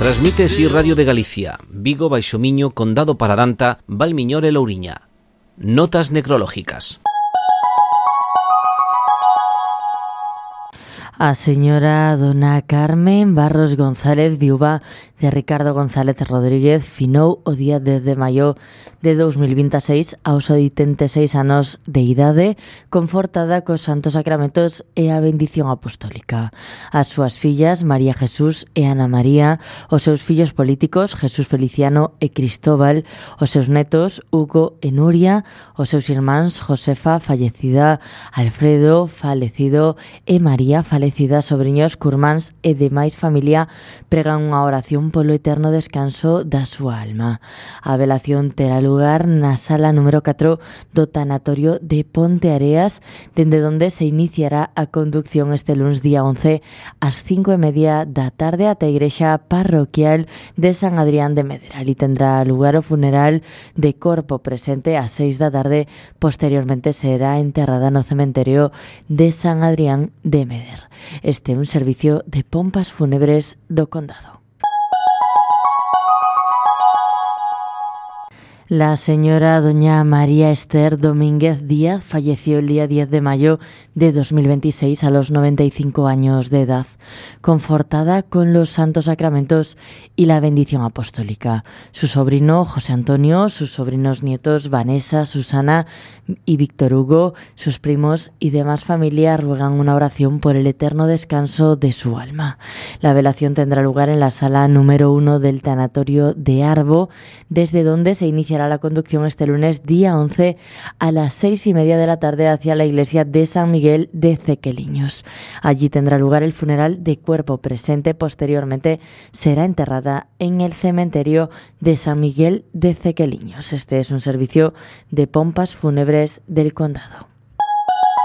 Transmite Si Radio de Galicia, Vigo, Baixo Miño, Condado Paradanta, Valmiñor e Louriña. Notas necrológicas. A señora dona Carmen Barros González, viúva de Ricardo González Rodríguez, finou o día 10 de maio de 2026 aos 86 anos de idade, confortada cos santos sacramentos e a bendición apostólica. As súas fillas, María Jesús e Ana María, os seus fillos políticos, Jesús Feliciano e Cristóbal, os seus netos, Hugo e Nuria, os seus irmáns, Josefa, fallecida, Alfredo, falecido, e María, fallecida, sobriños, curmáns e demais familia, pregan unha oración polo eterno descanso da súa alma. A velación terá lugar na sala número 4 do tanatorio de Ponteareas, dende onde se iniciará a conducción este luns día 11 ás 5:30 da tarde ata a igrexa parroquial de San Adrián de Meder. Ali tendrá lugar o funeral de corpo presente ás 6 da tarde. Posteriormente será enterrada no cementerio de San Adrián de Meder. Este é un servicio de pompas fúnebres do Condado. La señora doña María Esther Domínguez Díaz falleció el día 10 de mayo de 2026 a los 95 años de edad, confortada con los santos sacramentos y la bendición apostólica. Su sobrino José Antonio, sus sobrinos nietos Vanessa, Susana y Víctor Hugo, sus primos y demás familia ruegan una oración por el eterno descanso de su alma. La velación tendrá lugar en la sala número 1 del tanatorio de Arbo, desde donde se iniciará la conducción este lunes día 11 a las 6:30 de la tarde hacia la iglesia de San Miguel de Cequeliños. Allí tendrá lugar el funeral de cuerpo presente. Posteriormente será enterrada en el cementerio de San Miguel de Cequeliños. Este es un servicio de pompas fúnebres del Condado.